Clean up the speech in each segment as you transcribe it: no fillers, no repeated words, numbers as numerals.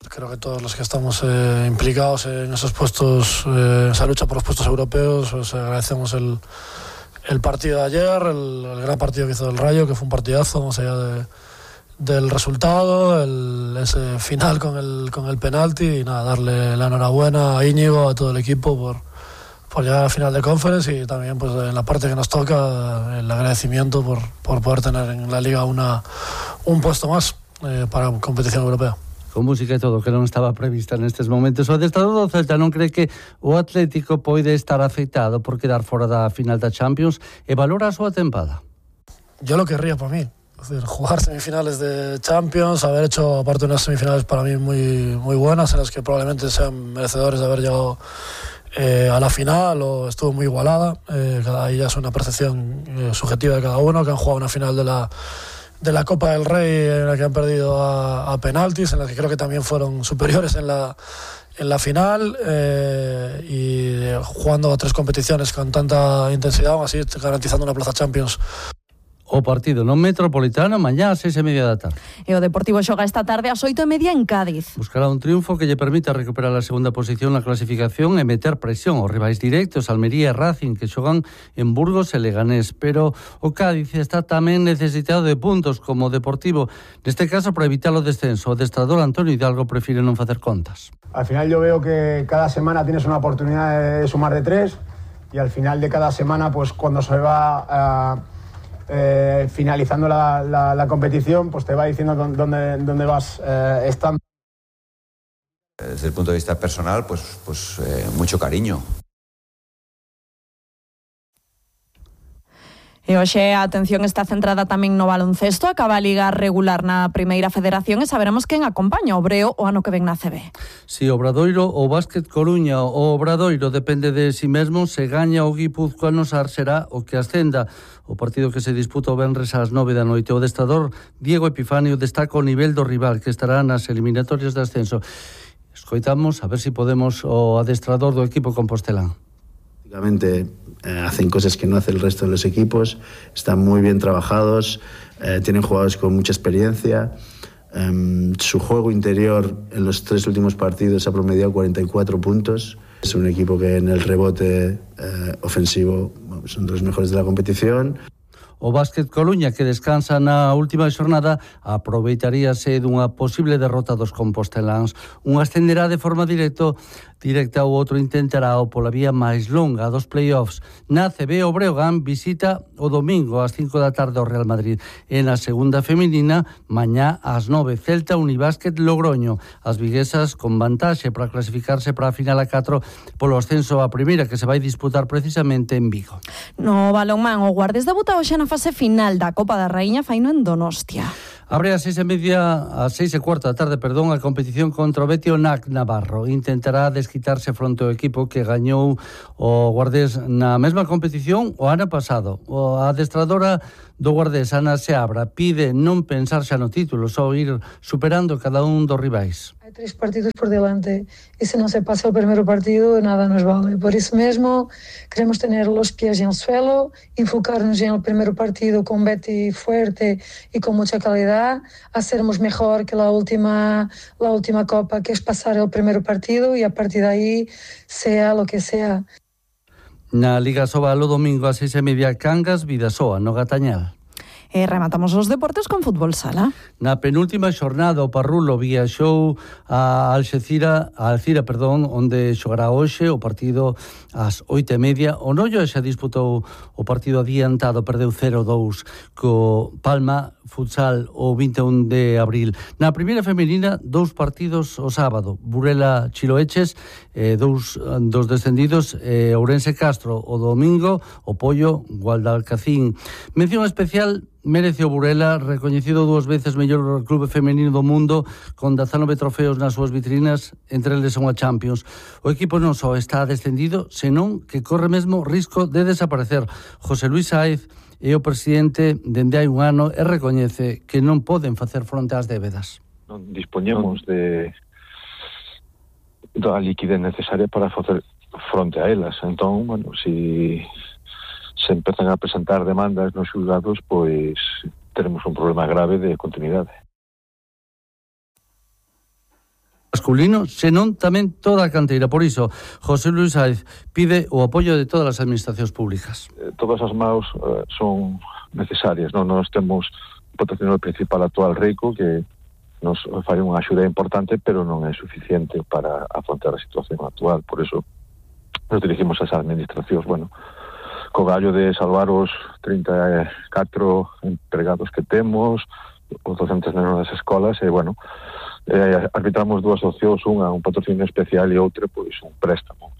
Creo que todos los que estamos implicados en esos puestos, esa lucha por los puestos europeos, pues agradecemos el partido de ayer, el gran partido que hizo el Rayo, que fue un partidazo, más allá del resultado, ese final con el penalti, y nada, darle la enhorabuena a Íñigo, a todo el equipo por llegar a la final de Conference, y también pues en la parte que nos toca el agradecimiento por poder tener en la Liga un puesto más para competición europea. Con música e todo, que non estaba prevista nestes momentos. O adestrador do Celta non cree que o Atlético pode estar afectado por quedar fora da final da Champions e valora a súa tempada. Yo lo querría para mí. Es decir, jugar semifinales de Champions, haber hecho aparte unas semifinales para mí muy, muy buenas, en las que probablemente sean merecedores de haber llegado a la final, o estuvo muy igualada. Ahí ya es una percepción subjetiva de cada uno, que han jugado una final de la Copa del Rey en la que han perdido a penaltis, en la que creo que también fueron superiores en la final, y jugando a 3 competiciones con tanta intensidad, aún así garantizando una plaza Champions. O partido no Metropolitano mañá ás 6:30 da tarde. E o Deportivo xoga esta tarde ás 8:30 en Cádiz. Buscará un triunfo que lle permita recuperar a segunda posición na clasificación e meter presión aos rivais directos, Almería e Racing, que xogan en Burgos e Leganés. Pero o Cádiz está tamén necesitado de puntos como o Deportivo. Neste caso, para evitar o descenso, o adestrador Antonio Hidalgo prefire non facer contas. Al final yo veo que cada semana tienes una oportunidad de sumar de 3, y al final de cada semana, pues cuando se va finalizando la competición, pues te va diciendo dónde vas estando. Desde el punto de vista personal, pues mucho cariño. E hoxe a atención está centrada tamén no baloncesto. Acaba a Liga regular na Primeira Federación e saberemos quen acompaña o Breo o ano que ven na CB. Si o Obradoiro ou Básquet Coruña, o Obradoiro depende de si mesmo, se gaña o Guipúzcoa Sar será o que ascenda. O partido que se disputa o venres ás 9 da noite. O adestrador Diego Epifanio destaca o nivel do rival, que estará nas eliminatorias de ascenso. Escoitamos a ver si podemos o adestrador do equipo compostelán. Hacen cosas que no hace el resto de los equipos, están muy bien trabajados, tienen jugadores con mucha experiencia. Su juego interior en los 3 últimos partidos ha promediado 44 puntos. Es un equipo que en el rebote ofensivo son de los mejores de la competición. O Básquet Coruña, que descansa na última xornada, aproveitaríase dunha posible derrota dos composteláns. Un ascenderá de forma directa, o outro intentará o pola vía máis longa dos playoffs. Na CB, o Breogán visita o domingo ás 5 da tarde ao Real Madrid. E na segunda feminina, mañá ás 9, Celta Unibásquet Logroño. As viguesas con vantaxe para clasificarse para a final a 4 polo ascenso a primeira, que se vai disputar precisamente en Vigo. No balonmán, o Guardes debuta hoxe na fase final da Copa da Raíña, faino en Donostia. Abre ás 6:15 da tarde, a competición contra o Betis NAC Navarro. Intentará desquitarse fronte ao equipo que gañou o Guardés na mesma competición o ano pasado. A adestradora do Guardés, Ana Seabra, pide non pensar xa no título, só ir superando cada un dos rivais. Hay 3 partidos por delante y si no se pasa el primer partido nada nos vale. Por eso mismo queremos tener los pies en el suelo, enfocarnos en el primer partido con Betty fuerte y con mucha calidad, hacernos mejor que la última Copa, que es pasar el primer partido y a partir de ahí sea lo que sea. Na Liga Sobal o domingo ás 6:30, Cangas Vidasoa, no Gatañal. E rematamos os deportes con fútbol sala. Na penúltima xornada o Parrulo viaxou a Alcira, onde xogará hoxe o partido ás 8:30. O Noio xa disputou o partido adiantado, perdeu 0-2 co Palma Futsal o 21 de abril. Na primeira femenina, 2 partidos o sábado. Burela Chiloeches, 2 dos descendidos, Ourense Castro o domingo, o Pollo Guadalcacín. Mención especial merece o Burela, recoñecido 2 veces mellor clube femenino do mundo, con 19 trofeos nas súas vitrinas, entre eles unha Champions. O equipo non só está descendido, senón que corre mesmo risco de desaparecer. José Luis Sáez é o presidente dende hai un ano e recoñece que non poden facer fronte ás débedas. Non dispoñemos da liquidez necesaria para facer fronte a elas. Entón, se empezan a presentar demandas nos xulgados, pois teremos un problema grave de continuidade. masculino, senón tamén toda a canteira. Por iso, José Luis Sáez pide o apoio de todas as administracións públicas. Todas as maus son necesarias, non? Nós temos o patrocinador principal actual, Rico, que nos fai unha axuda importante, pero non é suficiente para afrontar a situación actual. Por iso nos dirigimos ás administracións, co gallo de salvar os 34 empregados que temos, os docentes das escolas, arbitramos dúas opcións, unha un patrocinio especial e outra pois un préstamo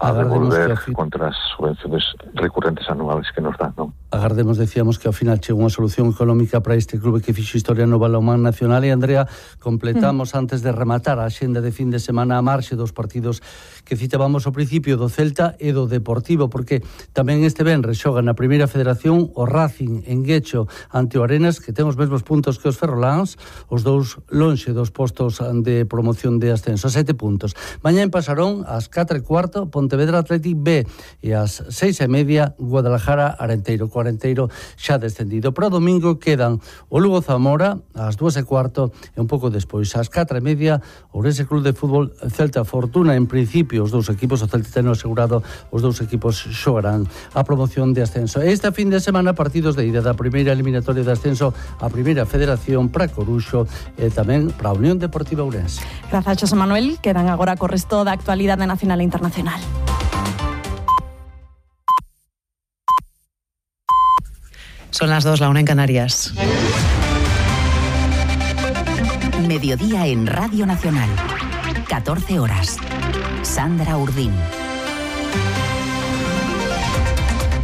a devolver contra as subvenciones recurrentes anuales que nos dan, non? Agardemos, decíamos, que ao final chega unha solución económica para este clube que fixo historia no balonmán nacional. E, Andrea, completamos antes de rematar a axenda de fin de semana a marxe dos partidos que citábamos ao principio do Celta e do Deportivo, porque tamén este venres xoga na Primeira Federación o Racing en Guecho ante o Arenas, que ten os mesmos puntos que os ferroláns, os dous lonxe dos postos de promoción de ascenso, 7 puntos. Mañá en Pasarón, ás 4:15, Pontevedra Athletic B, e ás 6:30, Guadalajara Arenteiro. O Arenteiro xa descendido. Para o domingo quedan o Lugo Zamora ás 2:15 e un pouco despois ás 4:30 o Ourense Club de Fútbol Celta Fortuna. En principio os dous equipos, o Celta ten asegurado, os dous equipos xogarán a promoción de ascenso. Este fin de semana partidos de ida da primeira eliminatoria de ascenso a Primeira Federación para Coruxo e tamén para a Unión Deportiva Ourense. Grazas, José Manuel. Quedan agora co resto da actualidade nacional e internacional. Son las 2, la 1 en Canarias. Mediodía en Radio Nacional. 14 horas. Sandra Urdín.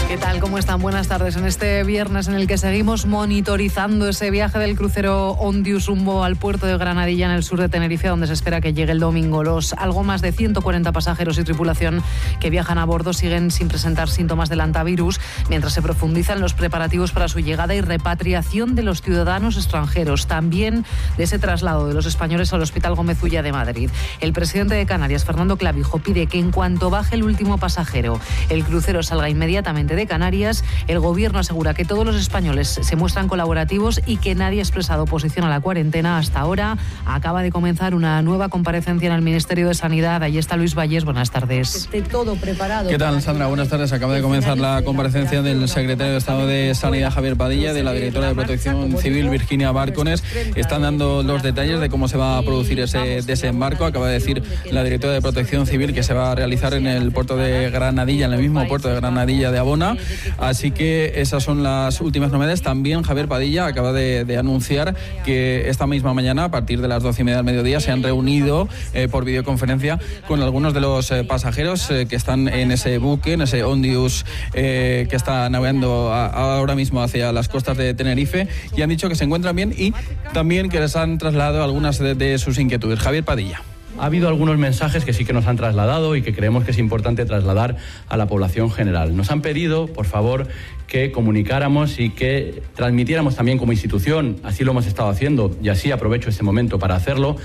¿Qué tal? ¿Cómo están? Buenas tardes. En este viernes en el que seguimos monitorizando ese viaje del crucero Ondius rumbo al puerto de Granadilla en el sur de Tenerife, donde se espera que llegue el domingo. Los algo más de 140 pasajeros y tripulación que viajan a bordo siguen sin presentar síntomas del hantavirus, mientras se profundizan los preparativos para su llegada y repatriación de los ciudadanos extranjeros, también de ese traslado de los españoles al Hospital Gómez Ulla de Madrid. El presidente de Canarias, Fernando Clavijo, pide que en cuanto baje el último pasajero, el crucero salga inmediatamente de Canarias. El gobierno asegura que todos los españoles se muestran colaborativos y que nadie ha expresado oposición a la cuarentena hasta ahora. Acaba de comenzar una nueva comparecencia en el Ministerio de Sanidad. Ahí está Luis Valles. Buenas tardes. Esté todo preparado. ¿Qué tal, Sandra? Buenas tardes. Acaba de comenzar la comparecencia del secretario de Estado de Sanidad, Javier Padilla, de la directora de Protección Civil, Virginia Bárcones. Están dando los detalles de cómo se va a producir ese desembarco. Acaba de decir la directora de Protección Civil que se va a realizar en el puerto de Granadilla, en el mismo puerto de Granadilla de Abona. Así que esas son las últimas novedades. También Javier Padilla acaba de anunciar que esta misma mañana, a partir de las 12:30 del mediodía, se han reunido por videoconferencia con algunos de los pasajeros que están en ese buque, en ese Ondius que está navegando ahora mismo hacia las costas de Tenerife, y han dicho que se encuentran bien y también que les han trasladado algunas de sus inquietudes. Javier Padilla. Ha habido algunos mensajes que sí que nos han trasladado y que creemos que es importante trasladar a la población general. Nos han pedido, por favor, que comunicáramos y que transmitiéramos también como institución, así lo hemos estado haciendo y así aprovecho este momento para hacerlo,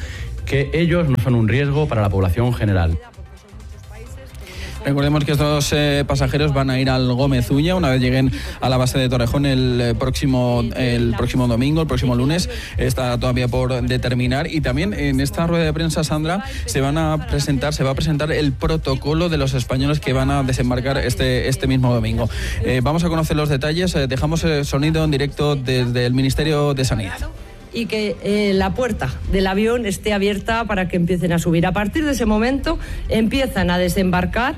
que ellos no son un riesgo para la población general. Recordemos que estos pasajeros van a ir al Gómez Ulla una vez lleguen a la base de Torrejón el próximo domingo, el próximo lunes. Está todavía por determinar. Y también en esta rueda de prensa, Sandra, se va a presentar el protocolo de los españoles que van a desembarcar este mismo domingo. Vamos a conocer los detalles. Dejamos el sonido en directo desde el Ministerio de Sanidad. Y que la puerta del avión esté abierta para que empiecen a subir. A partir de ese momento empiezan a desembarcar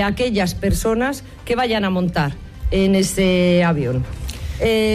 aquellas personas que vayan a montar en ese avión.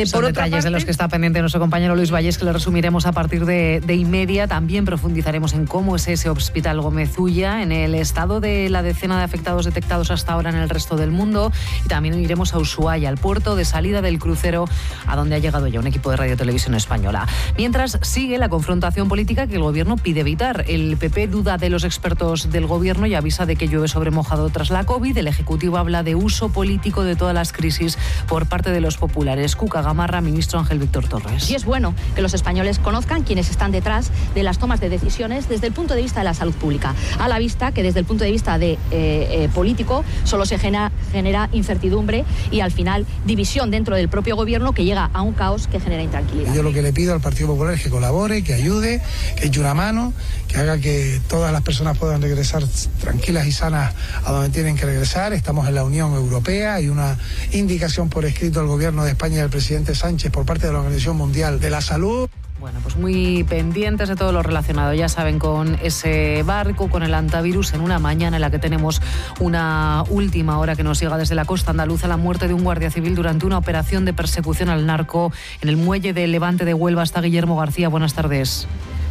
Son detalles de los que está pendiente nuestro compañero Luis Valles, que lo resumiremos a partir de 1:30. También profundizaremos en cómo es ese Hospital Gómez Ulla, en el estado de la decena de afectados detectados hasta ahora en el resto del mundo, y también iremos a Ushuaia, al puerto de salida del crucero, a donde ha llegado ya un equipo de Radio Televisión Española. Mientras sigue la confrontación política que el gobierno pide evitar. El PP duda de los expertos del gobierno y avisa de que llueve sobre mojado tras la COVID. El Ejecutivo habla de uso político de todas las crisis por parte de los populares. Ángeles Cuca Gamarra, ministro Ángel Víctor Torres. Y es bueno que los españoles conozcan quiénes están detrás de las tomas de decisiones desde el punto de vista de la salud pública, a la vista que desde el punto de vista de político solo se genera incertidumbre y al final división dentro del propio gobierno que llega a un caos que genera intranquilidad. Yo lo que le pido al Partido Popular es que colabore, que ayude, que eche una mano, que haga que todas las personas puedan regresar tranquilas y sanas a donde tienen que regresar. Estamos en la Unión Europea, hay una indicación por escrito al gobierno de España y al presidente Sánchez por parte de la Organización Mundial de la Salud. Bueno, pues muy pendientes de todo lo relacionado, ya saben, con ese barco, con el antivirus, en una mañana en la que tenemos una última hora que nos llega desde la costa andaluza, la muerte de un guardia civil durante una operación de persecución al narco en el muelle de Levante de Huelva. Está Guillermo García, buenas tardes.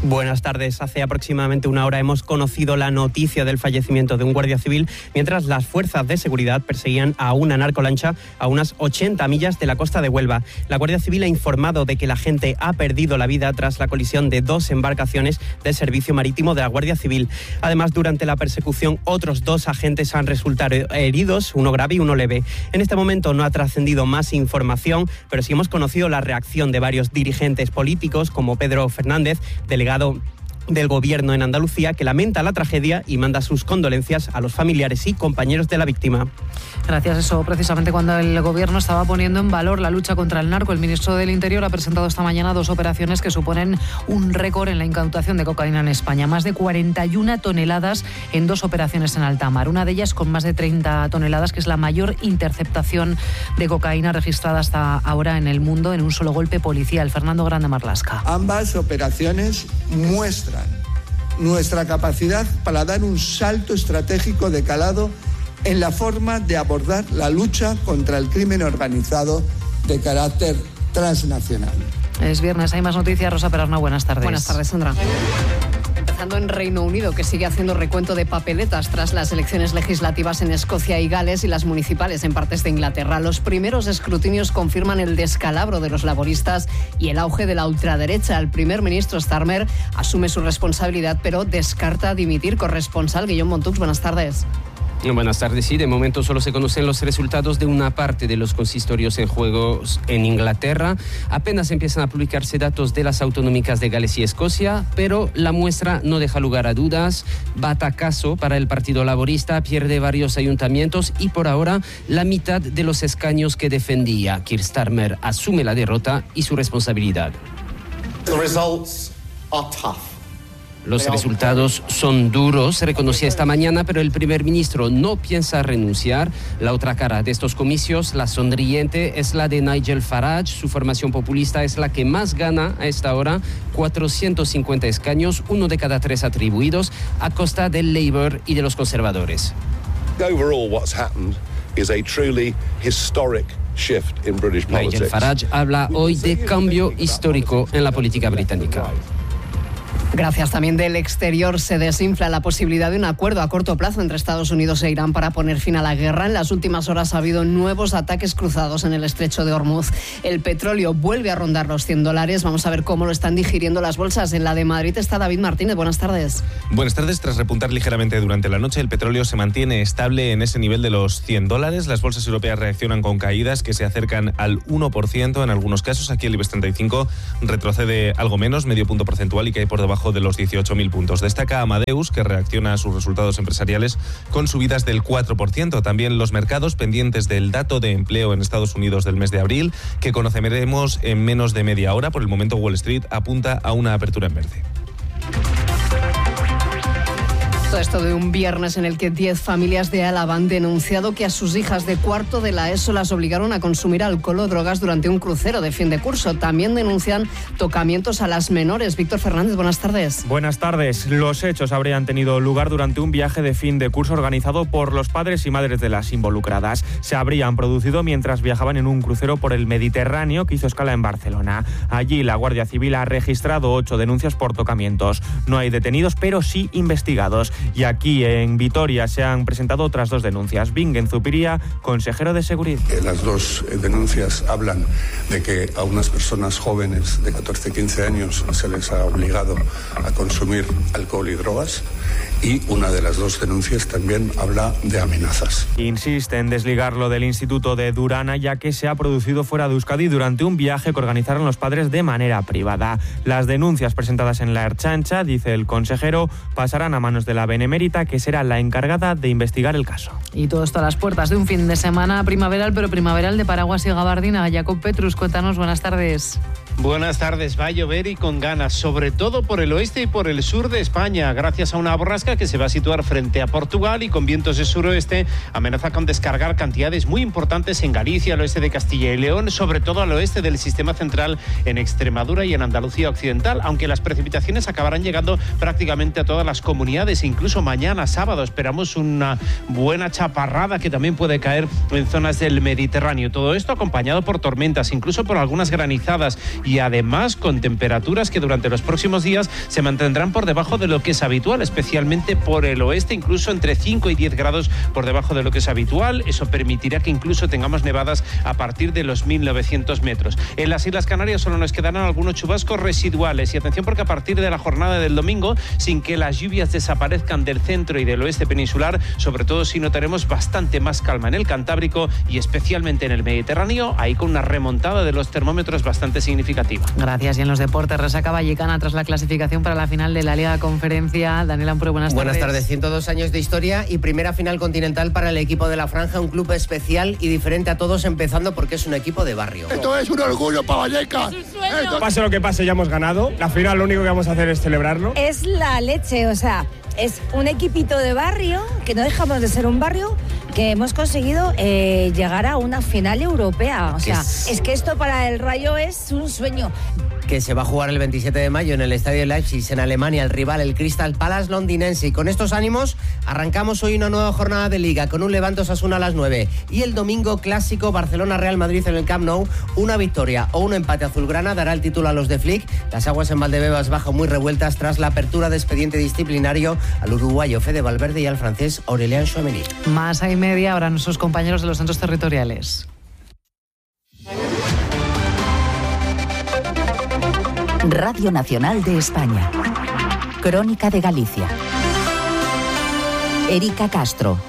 Buenas tardes. Hace aproximadamente una hora hemos conocido la noticia del fallecimiento de un guardia civil mientras las fuerzas de seguridad perseguían a una narcolancha a unas 80 millas de la costa de Huelva. La Guardia Civil ha informado de que la gente ha perdido la vida tras la colisión de 2 embarcaciones del Servicio Marítimo de la Guardia Civil. Además, durante la persecución, otros 2 agentes han resultado heridos, uno grave y uno leve. En este momento no ha trascendido más información, pero sí hemos conocido la reacción de varios dirigentes políticos, como Pedro Fernández, delegado del Gobierno en Andalucía, que lamenta la tragedia y manda sus condolencias a los familiares y compañeros de la víctima. Gracias. Eso precisamente cuando el Gobierno estaba poniendo en valor la lucha contra el narco. El ministro del Interior ha presentado esta mañana 2 operaciones que suponen un récord en la incautación de cocaína en España. Más de 41 toneladas en 2 operaciones en alta mar. Una de ellas con más de 30 toneladas, que es la mayor interceptación de cocaína registrada hasta ahora en el mundo en un solo golpe policial. Fernando Grande Marlasca. Ambas operaciones muestran nuestra capacidad para dar un salto estratégico de calado en la forma de abordar la lucha contra el crimen organizado de carácter transnacional. Es viernes, hay más noticias. Rosa Perarna, buenas tardes. Buenas tardes, Sandra. Empezando en Reino Unido, que sigue haciendo recuento de papeletas tras las elecciones legislativas en Escocia y Gales y las municipales en partes de Inglaterra. Los primeros escrutinios confirman el descalabro de los laboristas y el auge de la ultraderecha. El primer ministro Starmer asume su responsabilidad, pero descarta dimitir. Corresponsal Guillaume Montux, buenas tardes. Buenas tardes. Sí, de momento solo se conocen los resultados de una parte de los consistorios en juego en Inglaterra. Apenas empiezan a publicarse datos de las autonómicas de Gales y Escocia, pero la muestra no deja lugar a dudas. Batacazo para el Partido Laborista, pierde varios ayuntamientos y por ahora la mitad de los escaños que defendía. Keir Starmer asume la derrota y su responsabilidad. The results are tough. Los resultados son duros, se reconocía esta mañana, pero el primer ministro no piensa renunciar. La otra cara de estos comicios, la sonriente, es la de Nigel Farage. Su formación populista es la que más gana a esta hora, 450 escaños, 1 de cada 3 atribuidos, a costa del Labour y de los conservadores. Overall, what's happened is a truly historic shift in British politics. Nigel Farage habla hoy de cambio histórico en la política británica. Gracias. También del exterior se desinfla la posibilidad de un acuerdo a corto plazo entre Estados Unidos e Irán para poner fin a la guerra. En las últimas horas ha habido nuevos ataques cruzados en el estrecho de Hormuz. El petróleo vuelve a rondar los $100. Vamos a ver cómo lo están digiriendo las bolsas. En la de Madrid está David Martínez. Buenas tardes. Buenas tardes. Tras repuntar ligeramente durante la noche, el petróleo se mantiene estable en ese nivel de los $100. Las bolsas europeas reaccionan con caídas que se acercan al 1% en algunos casos. Aquí el IBEX 35 retrocede algo menos, medio punto porcentual, y cae por debajo de los 18.000 puntos. Destaca Amadeus, que reacciona a sus resultados empresariales con subidas del 4%. También los mercados pendientes del dato de empleo en Estados Unidos del mes de abril, que conoceremos en menos de media hora. Por el momento, Wall Street apunta a una apertura en verde. Todo esto de un viernes en el que 10 familias de Álava han denunciado que a sus hijas de cuarto de la ESO las obligaron a consumir alcohol o drogas durante un crucero de fin de curso. También denuncian tocamientos a las menores. Víctor Fernández, buenas tardes. Buenas tardes. Los hechos habrían tenido lugar durante un viaje de fin de curso organizado por los padres y madres de las involucradas. Se habrían producido mientras viajaban en un crucero por el Mediterráneo que hizo escala en Barcelona. Allí la Guardia Civil ha registrado 8 denuncias por tocamientos. No hay detenidos, pero sí investigados. Y aquí en Vitoria se han presentado otras 2 denuncias. Bingen Zupiría, consejero de Seguridad. Las 2 denuncias hablan de que a unas personas jóvenes de 14-15 años se les ha obligado a consumir alcohol y drogas, y una de las 2 denuncias también habla de amenazas. Insiste en desligarlo del Instituto de Durana, ya que se ha producido fuera de Euskadi durante un viaje que organizaron los padres de manera privada. Las denuncias presentadas en la Ertzaintza, dice el consejero, pasarán a manos de la Benemérita, que será la encargada de investigar el caso. Y todo esto a las puertas de un fin de semana primaveral, pero primaveral de paraguas y gabardina. Jacob Petrus, cuéntanos, buenas tardes. Buenas tardes, va a llover y con ganas, sobre todo por el oeste y por el sur de España, gracias a una borrasca que se va a situar frente a Portugal y con vientos de suroeste amenaza con descargar cantidades muy importantes en Galicia, al oeste de Castilla y León, sobre todo al oeste del sistema central, en Extremadura y en Andalucía occidental, aunque las precipitaciones acabarán llegando prácticamente a todas las comunidades. Incluso mañana sábado esperamos una buena chaparrada que también puede caer en zonas del Mediterráneo. Todo esto acompañado por tormentas, incluso por algunas granizadas, y además con temperaturas que durante los próximos días se mantendrán por debajo de lo que es habitual, especialmente por el oeste, incluso entre 5 y 10 grados por debajo de lo que es habitual. Eso permitirá que incluso tengamos nevadas a partir de los 1900 metros. En las Islas Canarias solo nos quedarán algunos chubascos residuales, y atención porque a partir de la jornada del domingo, sin que las lluvias desaparezcan del centro y del oeste peninsular, sobre todo si notaremos bastante más calma en el Cantábrico y especialmente en el Mediterráneo, ahí con una remontada de los termómetros bastante significativa. Gracias. Y en los deportes, resaca vallecana tras la clasificación para la final de la Liga Conferencia. Daniel Ampure, buenas tardes. Buenas tardes. 102 años de historia y primera final continental para el equipo de La Franja, un club especial y diferente a todos, empezando porque es un equipo de barrio. Esto es un orgullo para Vallecas. Pase lo que pase, ya hemos ganado. La final lo único que vamos a hacer es celebrarlo. Es la leche, o sea, es un equipito de barrio, que no dejamos de ser un barrio, que hemos conseguido llegar a una final europea. O sea, es que esto para el Rayo es un sueño. Que se va a jugar el 27 de mayo en el Estadio Leipzig, en Alemania, el rival, el Crystal Palace londinense. Y con estos ánimos arrancamos hoy una nueva jornada de Liga, con un Levante Osasuna a las 9. Y el domingo clásico Barcelona-Real Madrid en el Camp Nou. Una victoria o un empate azulgrana dará el título a los de Flick. Las aguas en Valdebebas bajan muy revueltas tras la apertura de expediente disciplinario al uruguayo Fede Valverde y al francés Aurélien Tchouameni. Más a y media, ahora nuestros compañeros de los centros territoriales. Radio Nacional de España. Crónica de Galicia. Erika Castro.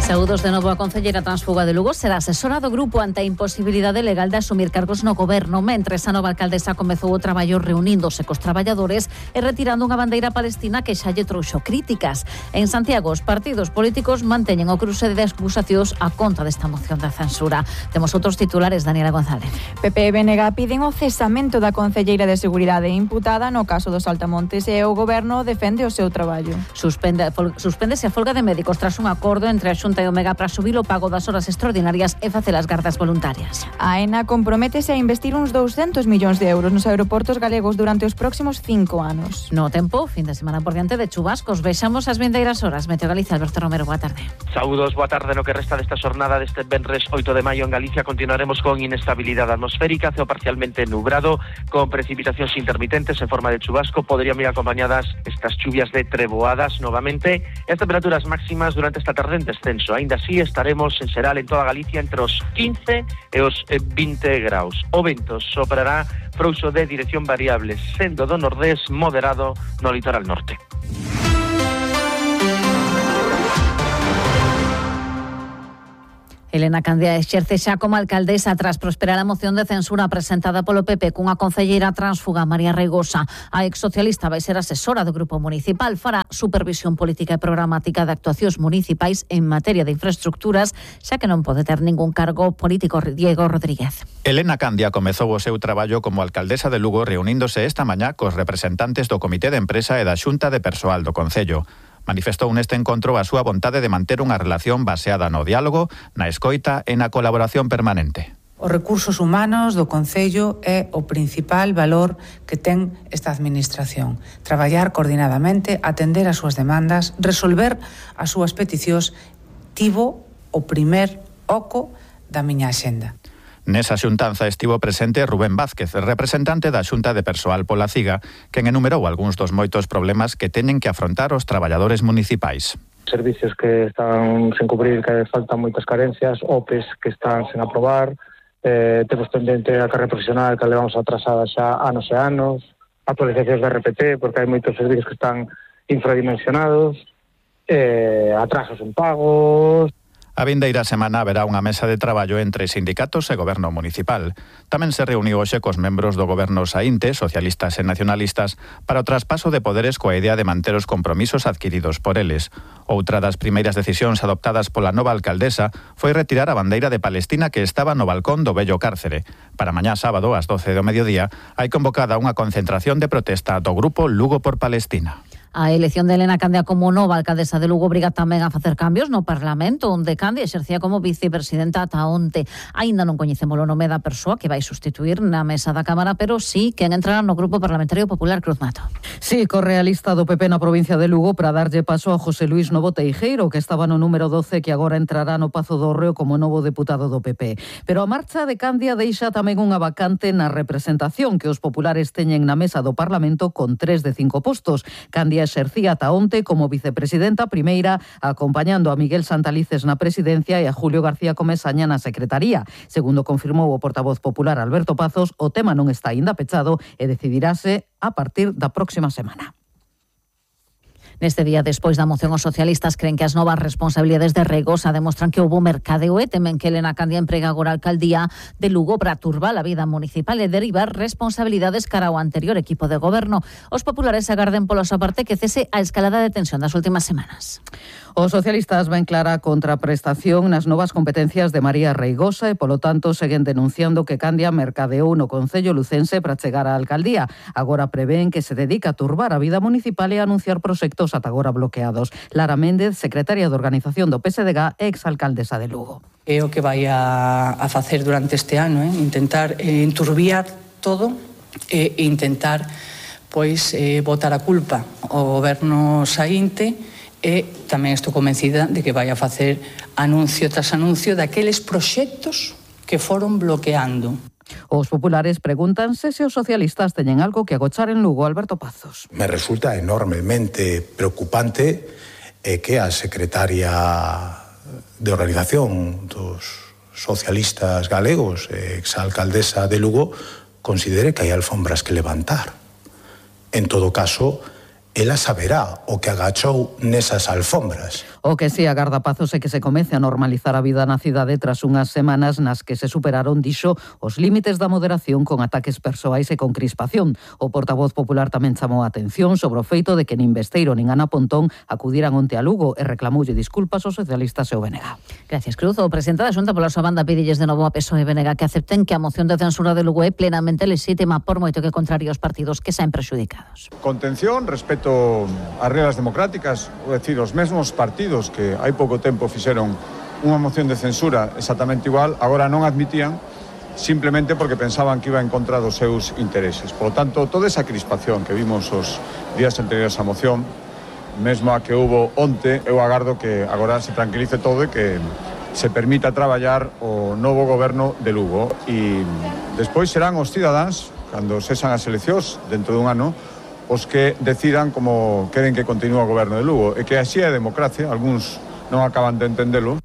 Saúdos de novo a concelleira transfuga de Lugo. Será asesora do grupo ante a imposibilidade legal de asumir cargos no goberno, mentres a nova alcaldesa comezou o traballo reuníndose cos traballadores e retirando unha bandeira palestina que xa lle trouxo críticas. En Santiago, os partidos políticos manteñen o cruce de acusacións a contra desta moción de censura. Temos outros titulares, Daniela González. PP e BNG piden o cesamento da concelleira de Seguridade imputada no caso dos Altamontes e o goberno defende o seu traballo. Suspéndese a folga de médicos tras un acordo entre a Xunta e o Mega para subir o pago das horas extraordinarias e facer as gardas voluntarias. A AENA comprométese a investir uns 200 millóns de euros nos aeroportos galegos durante os próximos 5 anos. No tempo, fin de semana por diante de chubascos. Vexamos as vindeiras horas. Meteo Galicia, Alberto Romero, boa tarde. Saúdos, boa tarde. No que resta desta xornada deste venres 8 de maio en Galicia continuaremos con inestabilidade atmosférica, ceo parcialmente nublado, con precipitacións intermitentes en forma de chubasco. Podrían ir acompañadas estas chuvias de treboadas novamente. As temperaturas máximas durante esta tarde en descenso. Ainda así estaremos en xeral en toda Galicia entre os 15 e os 20 graus. O vento soprará frouxo de dirección variable, sendo do nordés moderado no litoral norte. Elena Candia exerce xa como alcaldesa tras prosperar a moción de censura presentada polo PP cunha concelleira transfuga, María Reigosa. A exsocialista vai ser asesora do grupo municipal, fará supervisión política e programática de actuacións municipais en materia de infraestructuras, xa que non pode ter ningún cargo político. Diego Rodríguez. Elena Candia comezou o seu traballo como alcaldesa de Lugo reuníndose esta mañá cos representantes do Comité de Empresa e da Xunta de Persoal do Concello. Manifestou neste encontro a súa vontade de manter unha relación baseada no diálogo, na escoita e na colaboración permanente. Os recursos humanos do Concello é o principal valor que ten esta administración. Traballar coordinadamente, atender as súas demandas, resolver as súas peticións, tivo o primer oco da miña axenda. Nesa xuntanza estivo presente Rubén Vázquez, representante da Xunta de Persoal pola CIGA, quen enumerou algúns dos moitos problemas que teñen que afrontar os traballadores municipais. Servicios que están sen cubrir, que faltan moitas carencias, OPEs que están sen aprobar, temos pendente a carreira profesional que levamos atrasada xa anos e anos, actualizacións de RPT, porque hai moitos servicios que están infradimensionados, atrasos en pagos. A vindeira semana haberá unha mesa de traballo entre sindicatos e goberno municipal. Tamén se reuniu hoxe cos membros do goberno saínte, socialistas e nacionalistas, para o traspaso de poderes coa idea de manter os compromisos adquiridos por eles. Outra das primeiras decisións adoptadas pola nova alcaldesa foi retirar a bandeira de Palestina que estaba no balcón do vello cárcere. Para mañá sábado, ás 12 do mediodía, hai convocada unha concentración de protesta do grupo Lugo por Palestina. A elección de Elena Candia como nova alcaldesa de Lugo obriga tamén a facer cambios no Parlamento, onde Candia exercía como vicepresidenta ata onte. Aínda non coñecemos o nome da persoa que vai sustituir na mesa da Cámara, pero sí quen entrará no Grupo Parlamentario Popular. Cruz Mato. Sí, corre a lista do PP na provincia de Lugo para darlle paso a José Luís Novo Teijeiro, que estaba no número 12, que agora entrará no Pazo do Reo como novo deputado do PP. Pero a marcha de Candia deixa tamén unha vacante na representación que os populares teñen na mesa do Parlamento con 3 de 5 postos. Candia exercía ata onte como vicepresidenta primeira, acompañando a Miguel Santalices na presidencia e a Julio García Comesaña na secretaría. Segundo confirmou o portavoz popular Alberto Pazos, o tema non está aínda pechado e decidirase a partir da próxima semana. Neste día, despois da moción, os socialistas creen que as novas responsabilidades de Reigosa demostran que houbo mercadeo e temen que Elena Candia emprega agora a alcaldía de Lugo para turbar a vida municipal e derivar responsabilidades cara ao anterior equipo de goberno. Os populares agarden pola súa parte que cese a escalada de tensión das últimas semanas. Os socialistas ven clara contraprestación nas novas competencias de María Reigosa e, polo tanto, seguen denunciando que Candia mercadeou no Concello lucense para chegar á alcaldía. Agora prevén que se dedica a turbar a vida municipal e a anunciar proxectos ata agora bloqueados. Lara Méndez, secretaria de Organización do PSDG e exalcaldesa de Lugo. É o que vai a facer durante este ano, intentar enturbiar todo e intentar botar a culpa ao goberno saínte. E tamén estou convencida de que vai a facer anuncio tras anuncio daqueles proxectos que foron bloqueando. Os populares pregúntanse se os socialistas teñen algo que agochar en Lugo. Alberto Pazos. Me resulta enormemente preocupante que a secretaria de Organización dos Socialistas Galegos, exalcaldesa de Lugo, considere que hai alfombras que levantar. En todo caso, ela saberá o que agachou nesas alfombras. O que si agarda Pazos é que se comece a normalizar a vida na cidade tras unhas semanas nas que se superaron, dixo, os límites da moderación con ataques persoais e con crispación. O portavoz popular tamén chamou a atención sobre o feito de que nin Besteiro nin Ana Pontón acudiran onte a Lugo e reclamoulle disculpas aos socialistas e o BNG. Gracias, Cruz. O presidente da Xunta pola súa banda pídelles de novo a PSOE e BNG que acepten que a moción de censura de Lugo é plenamente lexítima por moito que contrarie os partidos que saen prexudicados. Contención, respeto ás regras democráticas, é dicir, os mesmos partidos que hai pouco tempo fixeron unha moción de censura exactamente igual, agora non admitían simplemente porque pensaban que iba en contra dos seus intereses. Por lo tanto, toda esa crispación que vimos os días anteriores á moción, mesmo a que hubo onte, eu agardo que agora se tranquilice todo e que se permita traballar o novo goberno de Lugo. E despois serán os cidadáns, cando cesan as eleccións dentro dun ano, os que decidan como queren que continúe o goberno de Lugo. E que así é a democracia, algúns non acaban de entendelo.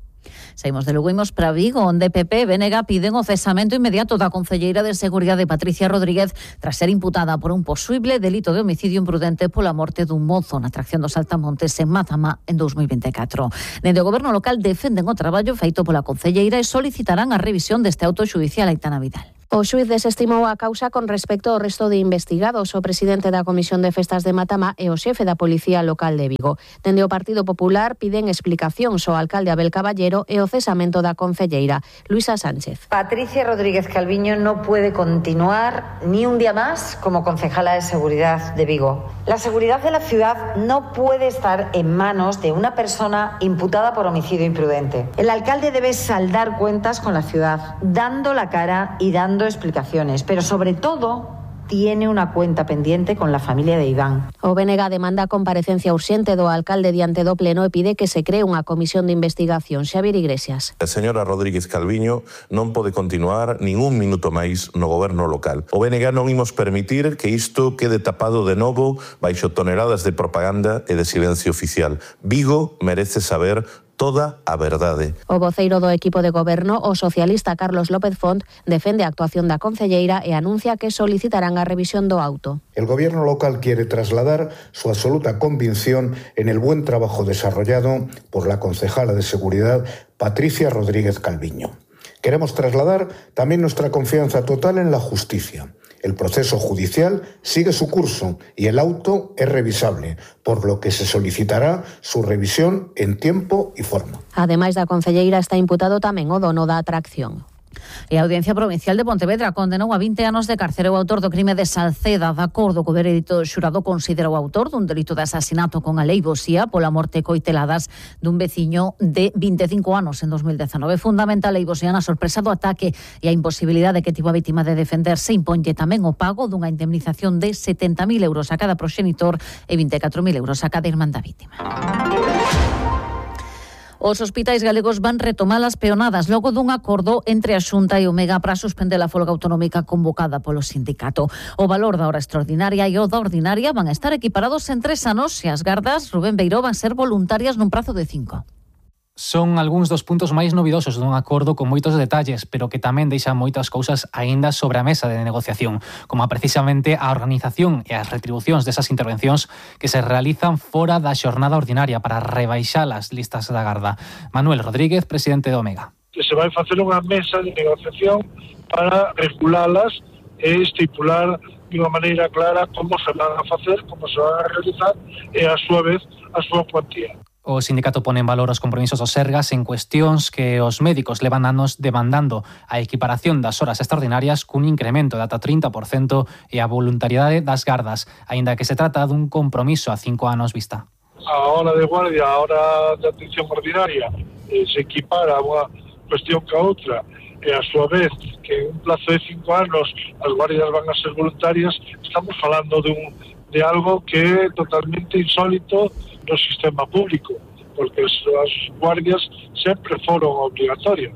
Saímos de Lugo, imos para Vigo, onde PP e BNG piden o cesamento inmediato da concelleira de Seguridade Patricia Rodríguez tras ser imputada por un posible delito de homicidio imprudente pola morte dun mozo na atracción dos Saltamontes en Mazama en 2024. Dende o goberno local defenden o traballo feito pola concelleira e solicitarán a revisión deste auto xudicial. Aitana Vidal. O xuíz desestimou a causa con respecto ao resto de investigados, o presidente da Comisión de Festas de Matamá e o xefe da Policía Local de Vigo. Dende o Partido Popular piden explicacións ao alcalde Abel Caballero e o cesamento da concelleira, Luisa Sánchez. Patricia Rodríguez Calviño no puede continuar ni un día más como concejala de Seguridad de Vigo. La seguridad de la ciudad no puede estar en manos de una persona imputada por homicidio imprudente. El alcalde debe saldar cuentas con la ciudad, dando la cara y dando explicaciones, pero sobre todo tiene una cuenta pendiente con la familia de Iván. O BNG demanda comparecencia urxente do alcalde diante do pleno e pide que se cree unha comisión de investigación. Xavier Iglesias. A señora Rodríguez Calviño non pode continuar nin un minuto máis no goberno local. O BNG non imos permitir que isto quede tapado de novo baixo toneladas de propaganda e de silencio oficial. Vigo merece saber toda a verdade. O voceiro do equipo de goberno, o socialista Carlos López Font, defende a actuación da concelleira e anuncia que solicitarán a revisión do auto. El gobierno local quiere trasladar su absoluta convicción en el buen trabajo desarrollado por la concejala de Seguridad, Patricia Rodríguez Calviño. Queremos trasladar también nuestra confianza total en la justicia. El proceso judicial sigue su curso y el auto es revisable, por lo que se solicitará su revisión en tiempo y forma. Ademais da concelleira está imputado tamén o dono da atracción. E a Audiencia Provincial de Pontevedra condenou a 20 anos de cárcere o autor do crime de Salceda. De acordo co veredicto, o xurado considera o autor dun delito de asasinato con aleivosía pola morte coiteladas dun veciño de 25 anos en 2019. Fundamental a aleivosía na sorpresa do ataque e a imposibilidade que tivo a vítima de defenderse. Imponlle tamén o pago dunha indemnización de 70.000 euros a cada proxenitor e 24.000 euros a cada irmán da vítima. Os hospitais galegos van retomar as peonadas logo dun acordo entre a Xunta e o Mega para suspender a folga autonómica convocada polo sindicato. O valor da hora extraordinaria e o da ordinaria van a estar equiparados en 3 anos e as gardas, Rubén Beiró, van ser voluntarias nun prazo de 5. Son algúns dos puntos máis novidosos dun acordo con moitos detalles, pero que tamén deixan moitas cousas aínda sobre a mesa de negociación, como precisamente a organización e as retribucións desas intervencións que se realizan fora da xornada ordinaria para rebaixar as listas da garda. Manuel Rodríguez, presidente do Omega. Que se vai facer unha mesa de negociación para regulalas e estipular de unha maneira clara como se van a facer, como se van a realizar e, a súa vez, a súa cuantía. O sindicato pone en valor os compromisos dos Sergas en cuestións que os médicos levan anos demandando a equiparación das horas extraordinarias cun incremento de ata 30% e a voluntariedade das gardas, aínda que se trata dun compromiso a 5 anos vista. A hora de guardia, a hora de atención ordinaria se equipara unha cuestión que a outra e a súa vez que en un plazo de 5 anos as guardias van a ser voluntarias, estamos falando de algo que é totalmente insólito no sistema público, porque as guardias sempre foron obligatorias.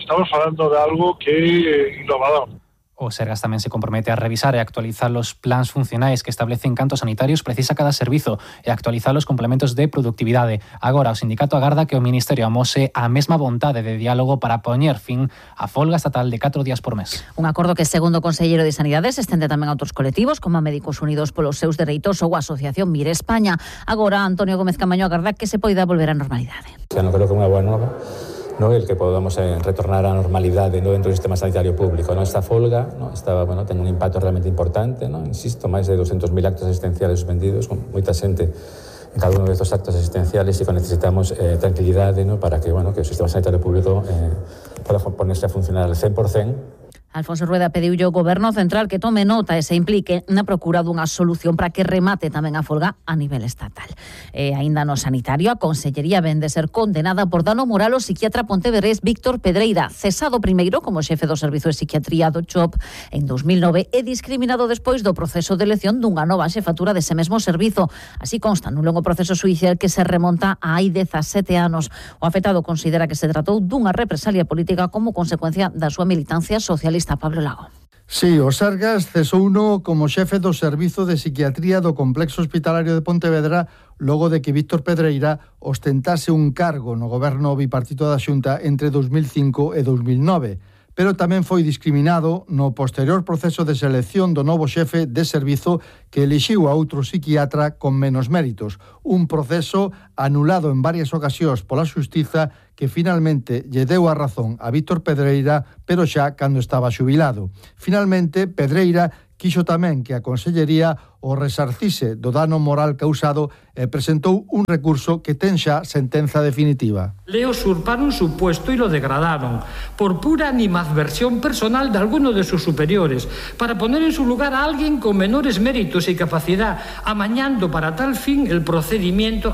Estamos falando de algo que é innovador. O Sergas tamén se compromete a revisar e actualizar os plans funcionais que establecen cantos sanitarios precisa cada servizo e actualizar os complementos de productividade. Agora, o sindicato agarda que o Ministerio amose a mesma vontade de diálogo para poñer fin á folga estatal de 4 días por mes. Un acordo que, segundo o Conselleiro de Sanidade, se estende tamén a outros colectivos, como a Médicos Unidos polos seus dereitos ou a Asociación Mire España. Agora, Antonio Gómez Camaño agarda que se poida volver á normalidade. Non creo que é unha boa nova, no, el que podamos retornar á normalidade dentro do sistema sanitario público. Esta folga ten un impacto realmente importante, insisto, máis de 200.000 actos asistenciales suspendidos, con moita xente en cada uno de estos actos asistenciales, e que necesitamos tranquilidade para que o sistema sanitario público poda ponerse a funcionar al 100%. Alfonso Rueda pediulle ao Goberno Central que tome nota e se implique na procura dunha solución para que remate tamén a folga a nivel estatal. E aínda no sanitario, a Consellería ven de ser condenada por dano moral o psiquiatra pontevedrés Víctor Pedreira, cesado primeiro como xefe do Servizo de Psiquiatría do CHOP en 2009 e discriminado despois do proceso de elección dunha nova xefatura dese mesmo servizo. Así consta nun longo proceso xudicial que se remonta a hai 17 anos. O afectado considera que se tratou dunha represalia política como consecuencia da súa militancia socialista. Pablo Lago. Sí, o Sergas cesouno como xefe do Servizo de Psiquiatría do Complexo Hospitalario de Pontevedra logo de que Víctor Pedreira ostentase un cargo no goberno bipartito da Xunta entre 2005 e 2009. Pero tamén foi discriminado no posterior proceso de selección do novo xefe de servizo que elixiu a outro psiquiatra con menos méritos. Un proceso anulado en varias ocasións pola Xustiza que finalmente lle deu a razón a Víctor Pedreira, pero xa cando estaba xubilado. Finalmente, Pedreira quixo tamén que a Consellería o resarcise do dano moral causado e presentou un recurso que ten xa sentenza definitiva. Le usurparon su puesto y lo degradaron por pura animadversión personal de alguno de sus superiores para poner en su lugar a alguien con menores méritos y capacidad, amañando para tal fin el procedimiento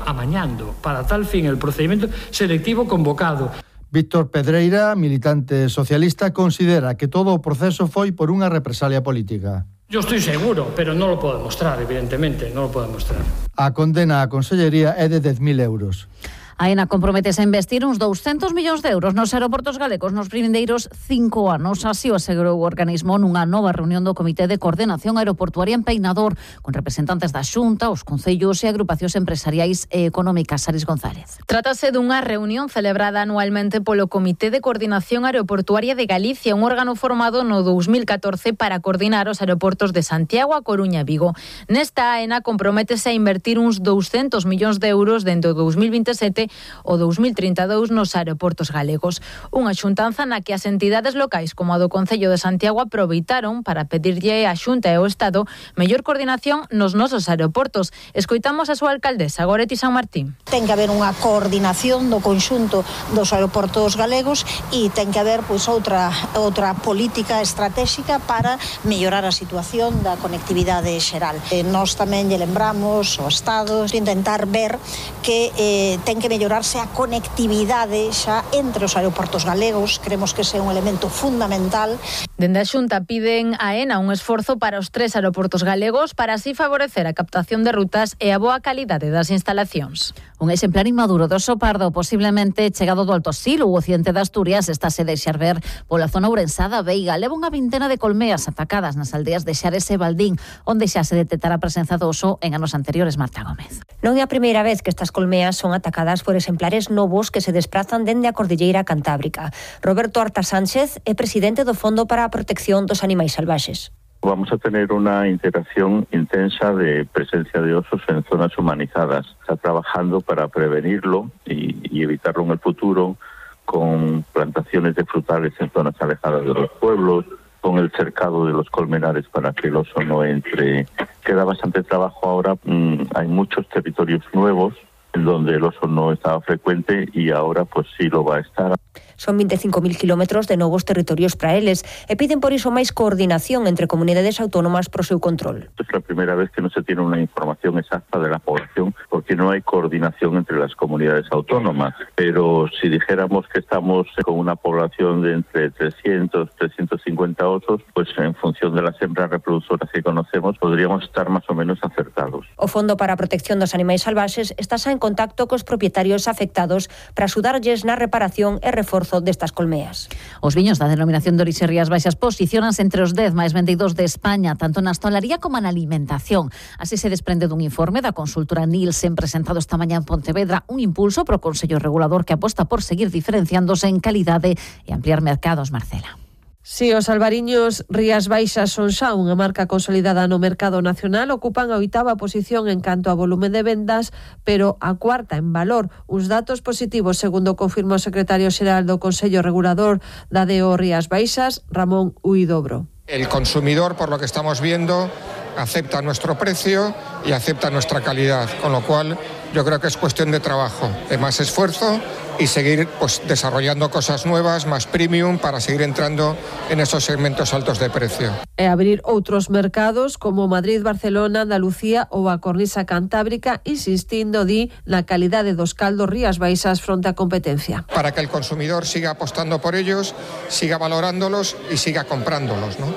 selectivo convocado. Víctor Pedreira, militante socialista, considera que todo o proceso foi por unha represalia política. Yo estoy seguro, pero no lo puedo demostrar, evidentemente, no lo puedo demostrar. A condena á Consellería é de 10.000 euros. Aena comprometese a investir uns 200 millóns de euros nos aeroportos galegos nos primeiros 5 anos. Así o asegurou o organismo nunha nova reunión do Comité de Coordenación Aeroportuaria en Peinador, con representantes da Xunta, os concellos e agrupacións empresariais e económicas. Aris González. Trátase dunha reunión celebrada anualmente polo Comité de Coordinación Aeroportuaria de Galicia, un órgano formado no 2014 para coordinar os aeroportos de Santiago, A Coruña e Vigo. Nesta, Aena comprométese a invertir uns 200 millóns de euros dentro do 2027 o 2032 nos aeroportos galegos. Unha xuntanza na que as entidades locais como a do Concello de Santiago aproveitaron para pedirlle á Xunta e ao Estado mellor coordinación nos nosos aeroportos. Escoitamos a súa alcaldesa, Goretti San Martín. Ten que haber unha coordinación do conxunto dos aeroportos galegos e ten que haber outra política estratégica para mellorar a situación da conectividade xeral. Nós tamén lle lembramos ao Estado de intentar ver que ten que mellorarse a conectividade xa entre os aeroportos galegos. Creemos que ese é un elemento fundamental. Dende a Xunta piden a Aena un esforzo para os 3 aeroportos galegos para así favorecer a captación de rutas e a boa calidade das instalacións. Un exemplar inmaduro do oso pardo, posiblemente chegado do Alto Sil ou occidente de Asturias, está se deixar ver pola zona ourensada Veiga. Leva unha vintena de colmeas atacadas nas aldeas de Xares e Baldín, onde xa se detectara a presenza do oso en anos anteriores. Marta Gómez. Non é a primeira vez que estas colmeas son atacadas por exemplares novos que se desprazan dende a Cordilleira Cantábrica. Roberto Arta Sánchez é presidente do Fondo para a Protección dos Animais Salvaxes. Vamos a tener una integración intensa de presencia de osos en zonas humanizadas. Está trabajando para prevenirlo y evitarlo en el futuro con plantaciones de frutales en zonas alejadas de los pueblos, con el cercado de los colmenares para que el oso no entre. Queda bastante trabajo ahora, hay muchos territorios nuevos en donde el oso no estaba frecuente y ahora pues sí lo va a estar. Son 25.000 kilómetros de novos territorios para eles e piden por iso máis coordinación entre comunidades autónomas pro seu control. Es la primera vez que no se tiene una información exacta de la población porque no hay coordinación entre las comunidades autónomas. Pero si dijéramos que estamos con una población de entre 300, 350 osos, pues en función de las hembras reproductoras que conocemos podríamos estar más o menos acertados. O Fondo para a Protección dos Animais Salvaxes está xa en contacto cos propietarios afectados para axudarlles na reparación e reforzo destas colmeas. Os viños da denominación de orixe Rías Baixas posicionanse entre os 10 máis vendidos de España, tanto na hostalería como na alimentación. Así se desprende dun informe da consultora Nielsen presentado esta mañá en Pontevedra, un impulso pro Consello Regulador que aposta por seguir diferenciándose en calidade e ampliar mercados. Marcela. Si os albariños Rías Baixas son xa unha marca consolidada no mercado nacional, ocupan a 8ª posición en canto a volumen de vendas, pero a 4ª en valor. Uns datos positivos, segundo confirmou o secretario xeral do Consello Regulador da DO Rías Baixas, Ramón Huidobro. El consumidor, por lo que estamos viendo, acepta nuestro precio y acepta nuestra calidad, con lo cual yo creo que es cuestión de trabajo, de más esfuerzo y seguir desarrollando cosas nuevas, más premium, para seguir entrando en esos segmentos altos de precio. E abrir outros mercados como Madrid, Barcelona, Andalucía ou a Cornisa Cantábrica, insistindo na calidade dos caldos Rías Baixas fronte á competencia. Para que el consumidor siga apostando por ellos, siga valorándolos y siga comprándolos, ¿no?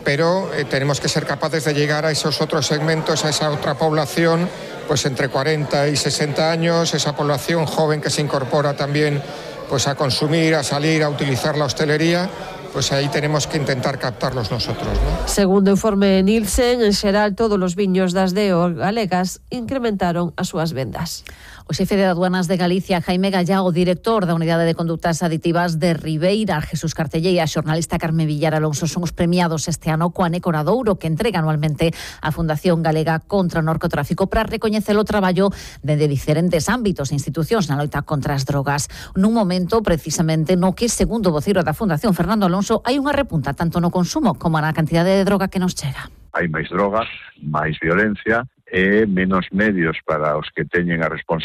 Pero tenemos que ser capaces de llegar a esos otros segmentos, a esa otra población, pues entre 40 y 60 años, esa población joven que se incorpora también pues a consumir, a salir, a utilizar la hostelería, pues aí tenemos que intentar captarlos nosotros, ¿no? Segundo o informe Nielsen, en xeral todos os viños das DO galegas incrementaron as súas vendas. O xefe de Aduanas de Galicia, Jaime Gallá, o director da Unidade de Conductas Aditivas de Ribeira, Jesús Cartellé, e a xornalista Carmen Villar Alonso son os premiados este ano coa Necoradouro, que entrega anualmente a Fundación Galega contra o Narcotráfico para recoñecer o traballo dende diferentes ámbitos e institucións na loita contra as drogas. Nun momento, precisamente, no que, segundo o voceiro da Fundación, Fernando Alonso, hai unha repunta tanto no consumo como na cantidade de droga que nos chega. Hai máis drogas, máis violencia e menos medios para os que teñen a responsabilidade